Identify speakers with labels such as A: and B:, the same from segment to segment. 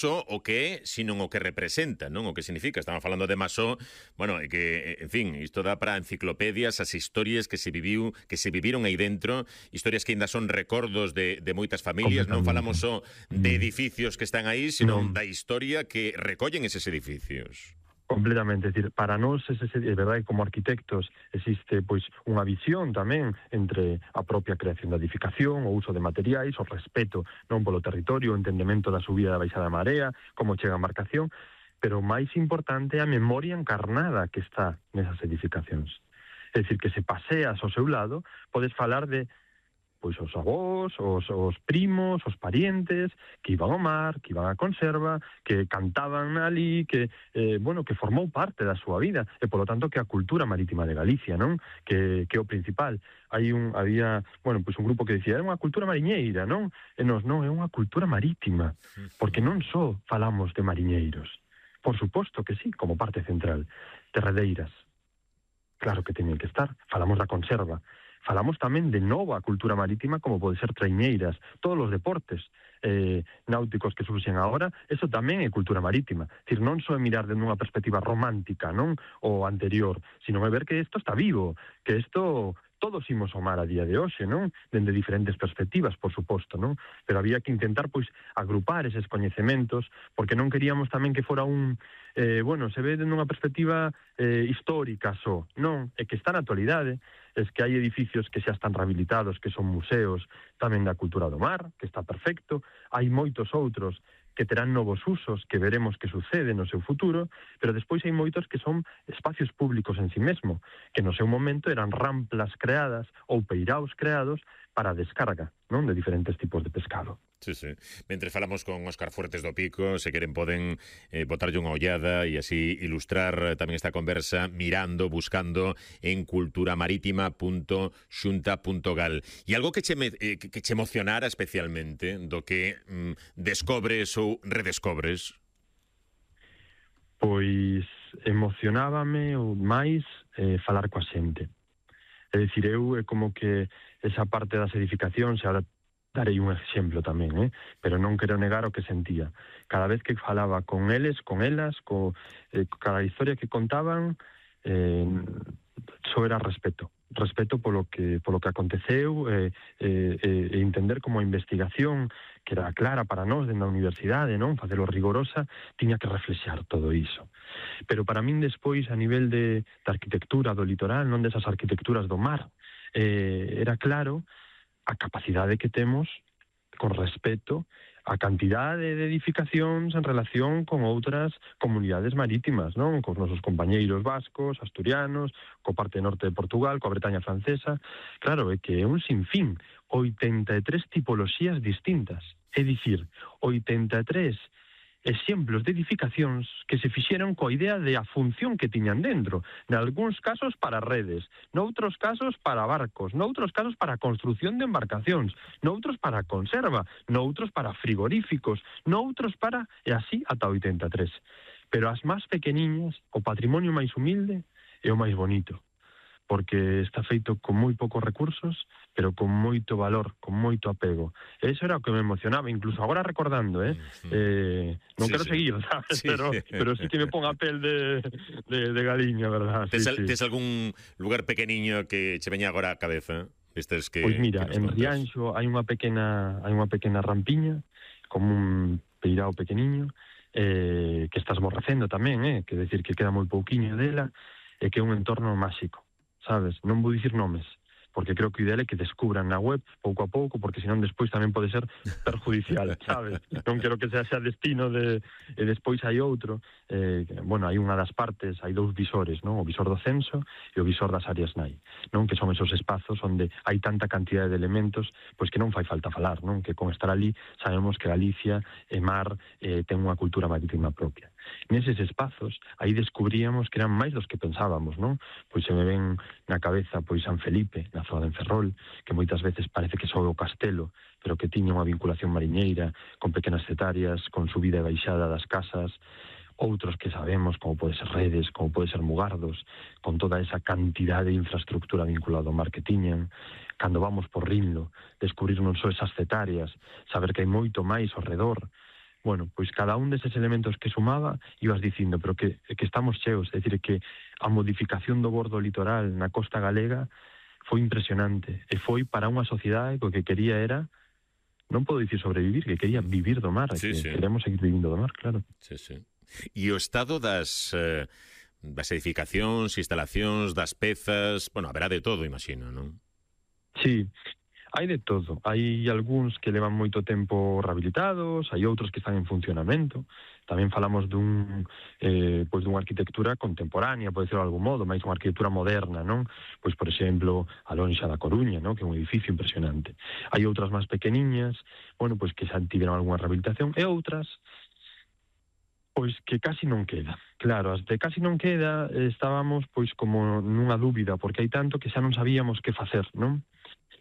A: só o que é, sino o que representa, non? O que significa. Estamos falando de Masó, bueno, que, en fin, isto dá para enciclopedias, as historias que se viviron aí dentro, historias que ainda son recordos de moitas familias. Non falamos só de edificios que están aí, sino da historia que recollen eses edificios.
B: Completamente, é dicir, para nós, é verdade, como arquitectos, existe pois unha visión tamén entre a propia creación da edificación, o uso de materiais, o respeto non polo territorio, o entendemento da subida da baixada da marea, como chega a embarcación, pero o máis importante é a memoria encarnada que está nesas edificacións. É dicir, que se paseas ao seu lado, podes falar de pois os avós, os primos, os parientes, que iban ao mar, que iban á conserva, que cantaban ali, que, que formou parte da súa vida, e polo tanto que a cultura marítima de Galicia, non? Que é o principal. Había un grupo que dicía, era unha cultura mariñeira, non? E nos, non, é unha cultura marítima, porque non só falamos de mariñeiros, por suposto que sí, como parte central, terradeiras, claro que teñen que estar, falamos da conserva, falamos tamén de nova cultura marítima, como pode ser traiñeiras, todos os deportes náuticos que surxen agora, eso tamén é cultura marítima. É dicir, non só é mirar de unha perspectiva romántica, non, o anterior, sino é ver que isto está vivo, que isto todos imos ao mar a día de hoxe, non? Dende diferentes perspectivas, por suposto, non? Pero había que intentar, pois, agrupar eses coñecementos, porque non queríamos tamén que fora se ve dende unha perspectiva histórica só, non? É que está na actualidade, es que hai edificios que xa están rehabilitados, que son museos tamén da cultura do mar, que está perfecto, hai moitos outros que terán novos usos, que veremos que sucede no seu futuro, pero despois hai moitos que son espacios públicos en si mesmo, que no seu momento eran ramplas creadas ou peiraos creados para a descarga, non, de diferentes tipos de pescado.
A: Sí, sí. Mentre falamos con Óscar Fuertes do Pico, se queren poden botarlle unha ollada e así ilustrar tamén esta conversa mirando, buscando en culturamaritima.xunta.gal. E algo que che emocionara especialmente do que descobres ou redescobres?
B: Pois emocionábame ou máis falar coa xente. É dicir, eu é como que esa parte das edificacións, ahora darei un exemplo tamén, pero non quero negar o que sentía. Cada vez que falaba con eles, con elas, cada historia que contaban, só era respeto polo que aconteceu, e entender como a investigación, que era clara para nós dentro da universidade, non, facelo rigorosa, tiña que reflexar todo iso. Pero para min despois, a nivel de arquitectura do litoral, non desas arquitecturas do mar, era claro a capacidade que temos con respeto a cantidade de edificacións en relación con outras comunidades marítimas, non? Cos nosos compañeiros vascos, asturianos, co parte norte de Portugal, coa Bretaña francesa. Claro, é que é un sinfín, 83 tipoloxías distintas. É dicir, 83 exemplos de edificacións que se fixeron coa idea de a función que tiñan dentro, nalgúns casos para redes, noutros casos para barcos, noutros casos para construción de embarcacións, noutros para conserva, noutros para frigoríficos, noutros para, e así ata 83. Pero as máis pequeniñas, o patrimonio máis humilde é o máis bonito, porque está feito con moi poucos recursos, pero con moito valor, con moito apego. E iso era o que me emocionaba, incluso agora recordando, non quero seguir, sabes? Sí. Pero sí que me pon a pel de galiña, verdad?
A: Tes algún lugar pequeniño que che veña agora á cabeza?
B: Pois mira, en Rianxo hai unha pequena rampiña, como un peirao pequeniño, que está esmorrecendo tamén, que decir que queda moi pouquiño dela, e que é un entorno máxico, sabes? Non vou dicir nomes, porque creo que o ideal é que descubran na web pouco a pouco, porque senón despois tamén pode ser perjudicial, sabes? Non quero que sea destino e despois hai outro. Hai unha das partes, hai dous visores, non? O visor do censo e o visor das áreas NAI, non? Que son esos espazos onde hai tanta cantidade de elementos, pois que non fai falta falar, non? Que con estar ali sabemos que Galicia e mar ten unha cultura marítima propia. Neses espazos, aí descubríamos que eran máis dos que pensábamos, non? Pois se me ven na cabeza pois San Felipe, na zona de Ferrol, que moitas veces parece que só o castelo, pero que tiña unha vinculación mariñeira, con pequenas cetarias, con subida e baixada das casas, outros que sabemos, como pode ser Redes, como pode ser Mugardos, con toda esa cantidade de infraestructura vinculada ao mar que tiñan. Cando vamos por Rinlo, descubrir non só esas cetarias, saber que hai moito máis ao redor, bueno, pois cada un deses elementos que sumaba ibas dicindo, pero que estamos cheos, é dicir, que a modificación do bordo litoral na costa galega foi impresionante, e foi para unha sociedade que o que quería era, non podo dicir sobrevivir, que quería vivir do mar,
A: Sí,
B: que
A: sí.
B: queremos seguir vivindo do mar, claro.
A: Sí, sí. E o estado das edificacións, instalacións, das pezas, bueno, haberá de todo, imagino, non?
B: Sí, hai de todo. Hai algúns que levan moito tempo rehabilitados, hai outros que están en funcionamento. Tamén falamos pois dunha arquitectura contemporánea, pode ser de algún modo, máis unha arquitectura moderna, non? Pois, por exemplo, a Lonxa da Coruña, non? Que é un edificio impresionante. Hai outras máis pequeniñas, bueno, pois que xa tiveron algunha rehabilitación, e outras pois que casi non queda. Claro, as de casi non queda estábamos pois como nunha dúbida, porque hai tanto que xa non sabíamos que facer, non?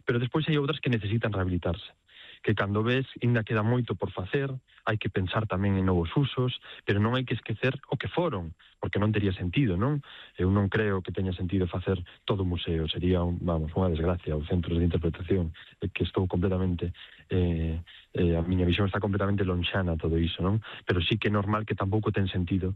B: Pero despois hai outras que necesitan rehabilitarse, que cando ves ainda queda moito por facer, hai que pensar tamén en novos usos, pero non hai que esquecer o que foron, porque non tería sentido, non? Eu non creo que teña sentido facer todo o museo, sería, unha desgracia, os centros de interpretación, que estou completamente, a miña visión está completamente lonxana todo iso, non? Pero sí que é normal que tampouco ten sentido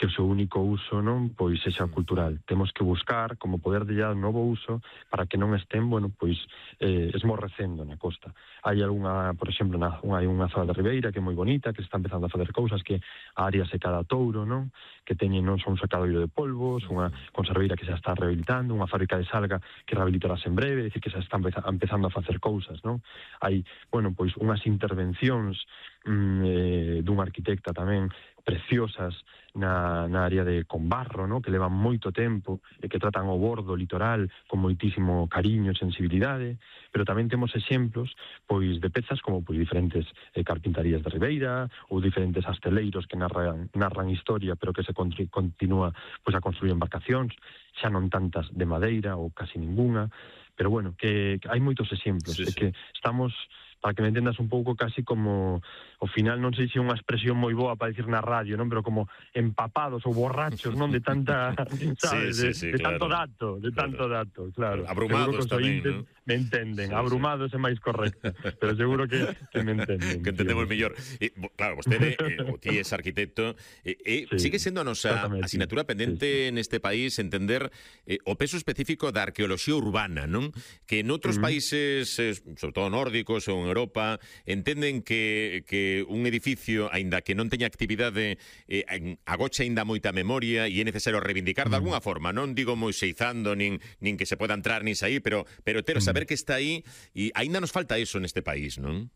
B: que o seu único uso non pois sexa cultural. Temos que buscar como poder de un novo uso para que non estén, bueno, pois esmorrecendo na costa. Hai algunha, por exemplo, hai unha zona de Ribeira que é moi bonita, que se está empezando a facer cousas, que a área secada Touro, non? Que teñen non só un secadoiro de polvos, unha conserveira que xa está rehabilitando, unha fábrica de salga que rehabilitarase en breve, é dicir, que xa está empezando a facer cousas, non? Hai, bueno, pois unhas intervencións dunha arquitecta tamén preciosas na área de Combarro, ¿no? Que levan moito tempo e que tratan o bordo litoral con moitísimo cariño e sensibilidade, pero tamén temos exemplos pois de pezas como pois diferentes carpintarías de Ribeira ou diferentes asteleiros que narran historia, pero que se continúa pois a construir embarcacións, xa non tantas de madeira ou casi ninguna, pero bueno, que hai moitos exemplos,
A: Sí, sí.
B: que estamos, para que me entendas un pouco, casi como, ao final non sei se é unha expresión moi boa para dicir na radio, non, pero como empapados ou borrachos, non, de tanta, sabes,
A: sí,
B: de
A: claro.
B: tanto dato, claro.
A: Abrumados tamén, non?
B: Me entenden,
A: Sí,
B: abrumados é máis correcto, pero seguro que me entenden.
A: Que entendemos mellor. Claro, vostede, o ti es arquitecto, sigue sendo a nosa asignatura pendente neste país entender o peso específico da arqueoloxía urbana, non? Que noutros países, sobre todo nórdicos ou en Europa, entenden que un edificio, aínda que non teña actividade, agocha aínda moita memoria e é necesario reivindicar de alguna forma, non digo moiseizando, nin que se poda entrar nin sair, pero saber que está aí, e aínda nos falta eso neste país, non?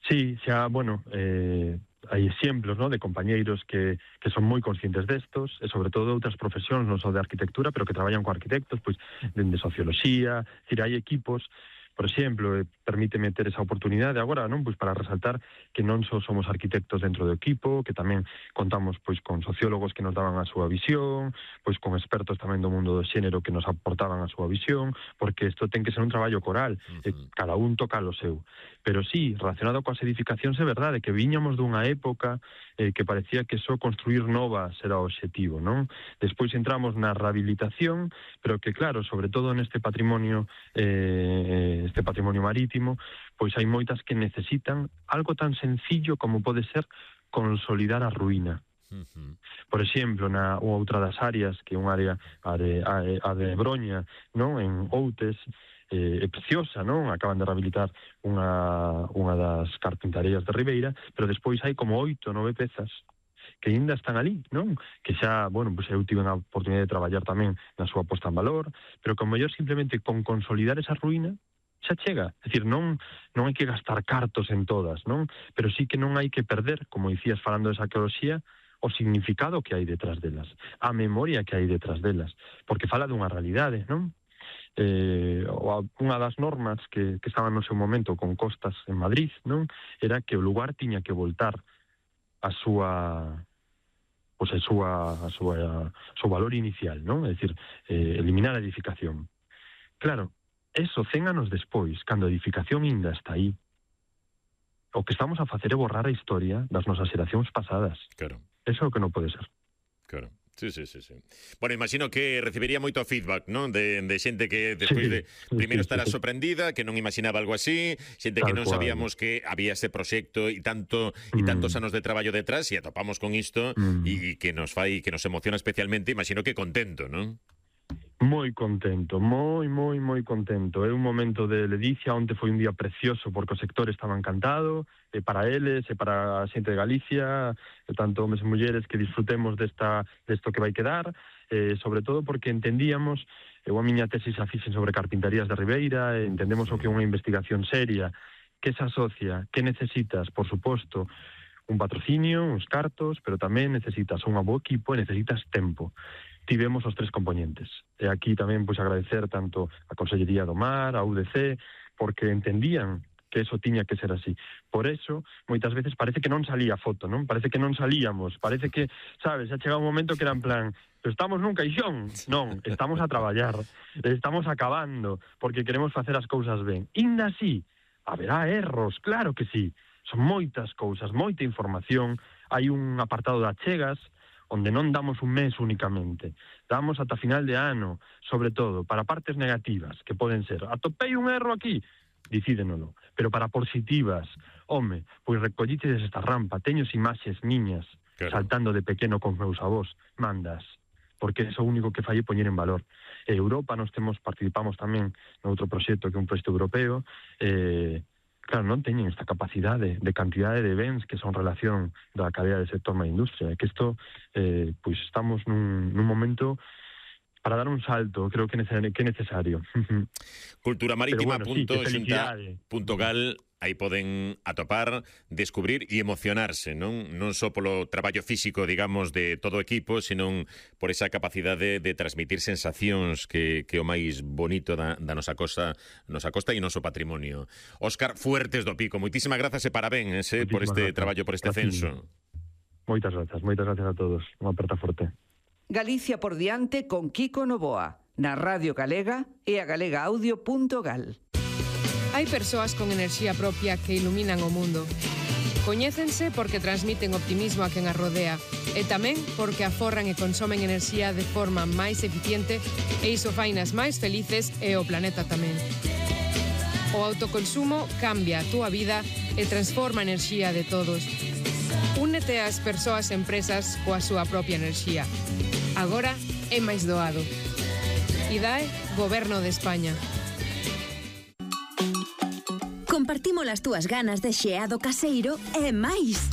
B: Sí, xa, bueno, hai exemplos, ¿no?, de compañeiros que son moi conscientes destos, e sobre todo outras profesións, non só de arquitectura, pero que traballan con arquitectos, pois, de socioloxía, hai equipos, por exemplo, permíteme ter esa oportunidade agora, non, pois para resaltar que non só somos arquitectos dentro do equipo, que tamén contamos pois con sociólogos que nos daban a súa visión, pois con expertos tamén do mundo do xénero que nos aportaban a súa visión, porque isto ten que ser un traballo coral, cada un toca o seu. Pero sí, relacionado coas edificacións, é verdade que viñamos dunha época que parecía que só construir novas era o obxectivo, non? Despois entramos na rehabilitación, pero que claro, sobre todo neste patrimonio marítimo, pois hai moitas que necesitan algo tan sencillo como pode ser consolidar a ruína. Por exemplo, na outra das áreas, que é unha área a de Broña, non, en Outes, é preciosa, non? Acaban de rehabilitar unha das carpintarías de Ribeira, pero despois hai como 8 ou 9 pezas que ainda están ali, non? Que xa, bueno, pois eu tive a oportunidade de traballar tamén na súa posta en valor, pero que ao mellor simplemente con consolidar esa ruína xa chega. É dicir, non hai que gastar cartos en todas, non? Pero sí que non hai que perder, como dicías falando de arqueoloxía, o significado que hai detrás delas, a memoria que hai detrás delas, porque fala dunha realidade, non? Unha das normas que estaban no seu momento con costas en Madrid, non, era que o lugar tiña que voltar a súa o seu valor inicial, non? É dicir, eliminar a edificación. Claro, eso 100 anos despois, cando a edificación ainda está aí, o que estamos a facer é borrar a historia das nosas xeracións pasadas.
A: Claro.
B: Eso é o que non pode ser.
A: Claro. Sí. Bueno, imagino que recibiría moito feedback, non? De xente que despois de primeiro estará sorprendida, que non imaginaba algo así, xente que non sabíamos que había ese proxecto e tantos anos de traballo detrás, e atopamos con isto e que nos emociona especialmente, imagino que contento, non?
B: Moi contento, moi contento. É un momento de ledicia, onte foi un día precioso porque o sector estaba encantado, e para eles, e para a xente de Galicia, e tanto homes e mulleres que disfrutemos desto que vai quedar, sobre todo porque entendíamos, eu a miña tesis a fixen sobre carpintarías de Ribeira, e entendemos o que é unha investigación seria, que se asocia, que necesitas, por suposto, un patrocinio, uns cartos, pero tamén necesitas un bo equipo e necesitas tempo. Tivemos os 3 componentes. E aquí tamén pois agradecer tanto a Consellería do Mar, a UDC, porque entendían que eso tiña que ser así. Por eso, moitas veces parece que non salía a foto, non? Parece que non salíamos, parece que, sabes, xa chegaba un momento que era en plan, estamos nun caixón. Non, estamos a traballar, estamos acabando, porque queremos facer as cousas ben. Inda así, haberá erros, claro que sí. Son moitas cousas, moita información, hai un apartado de achegas, onde non damos un mes únicamente, damos ata final de ano, sobre todo, para partes negativas, que poden ser, atopei un erro aquí, dicídenolo, pero para positivas, home, pois recollites esta rampa, teños imaxes miñas, saltando de pequeno con meus avós, mandas, porque é o único que fai poñer en valor. Europa, participamos tamén noutro proxecto que é un proxecto europeo, claro, non teñen esta capacidade de cantidade de bens que son relación da cadea de sector na industria, que isto, pois estamos nun momento para dar un salto, creo que é necesario.
A: Culturamarítima.xunta.gal, aí poden atopar, descubrir e emocionarse, non só polo traballo físico, digamos, de todo o equipo, senón por esa capacidade de transmitir sensacións que o máis bonito da nosa costa e noso patrimonio. Óscar Fuertes do Pico, moitísimas grazas e parabéns por este traballo, por este censo.
B: Moitas grazas a todos. Unha aperta forte.
C: Galicia por diante con Kiko Novoa, na Radio Galega e a galegaaudio.gal.
D: Hai persoas con enerxía propia que iluminan o mundo. Coñécense porque transmiten optimismo a quen as rodea e tamén porque aforran e consomen enerxía de forma máis eficiente e iso fainas máis felices e o planeta tamén. O autoconsumo cambia a túa vida e transforma a enerxía de todos. Únete ás persoas e empresas coa súa propia enerxía. Agora é máis doado. IDAE, Goberno de España.
E: Compartimos as túas ganas de xeado caseiro e máis.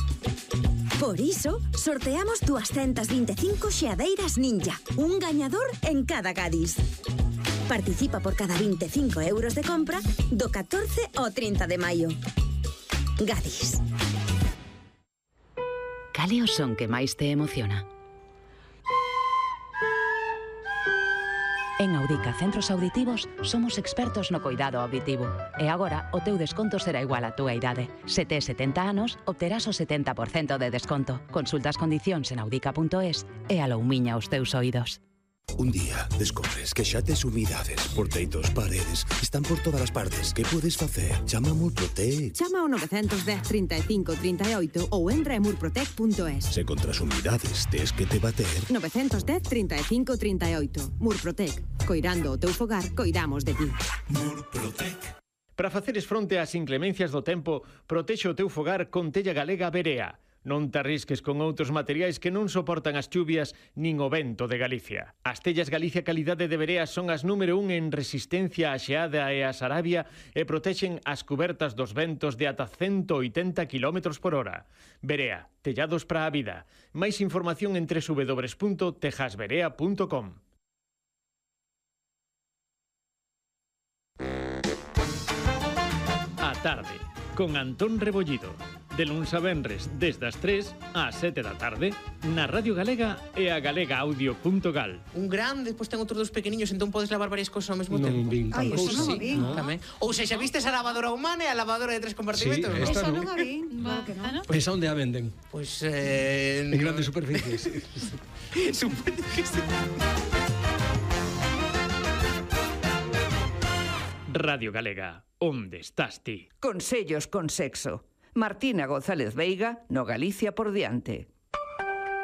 E: Por iso, sorteamos 225 xeadeiras Ninja, un gañador en cada Gadis. Participa por cada 25 euros de compra do 14 ao 30 de maio. Gadis.
F: Cale o son que máis te emociona? En Audica Centros Auditivos somos expertos no coidado auditivo e agora o teu desconto será igual á túa idade. Se tes 70 anos, obterás o 70% de desconto. Consulta as condicións en audica.es e aloumiña os teus oídos.
G: Un día descobres que xa tes humidades por teitos, paredes, están por todas as partes. Que podes facer? Chama a Murprotec.
H: Chama ao 910 35 38 ou entra en murprotec.es.
G: Se contra as humidades tes que te bater.
H: 910 35 38. Murprotec. Coirando o teu fogar, coidamos de ti.
I: Murprotec. Para faceres fronte ás inclemencias do tempo, protexe o teu fogar con tella galega Berea. Non te arrisques con outros materiais que non soportan as chuvias nin o vento de Galicia. As tellas Galicia Calidade de Berea son as número 1 en resistencia á xeada e á sarabia e protexen as cubertas dos ventos de ata 180 km por hora. Berea, tellados para a vida. Máis información en www.tejasberea.com. A tarde, con Antón Rebollido. De luns a venres, desde as 3 ás 7 da tarde, na Radio Galega e a galegaaudio.gal.
J: Un grande, despois ten outros dos pequeniños, entón podes lavar varias cousas ao mesmo tempo.
K: Non vin tal
J: cousa.
K: cousa.
J: Sí, tamén. Ou sexa, vistes a lavadora humana e a lavadora de 3 compartimentos?
K: Sí, esta
J: non
K: non
J: a vin.
K: Pois onde a venden?
J: Pois,
K: en grandes superficies.
J: Supoño que sí.
I: Radio Galega, onde estás ti?
C: Consellos con sexo. Martina González Veiga, no Galicia por diante.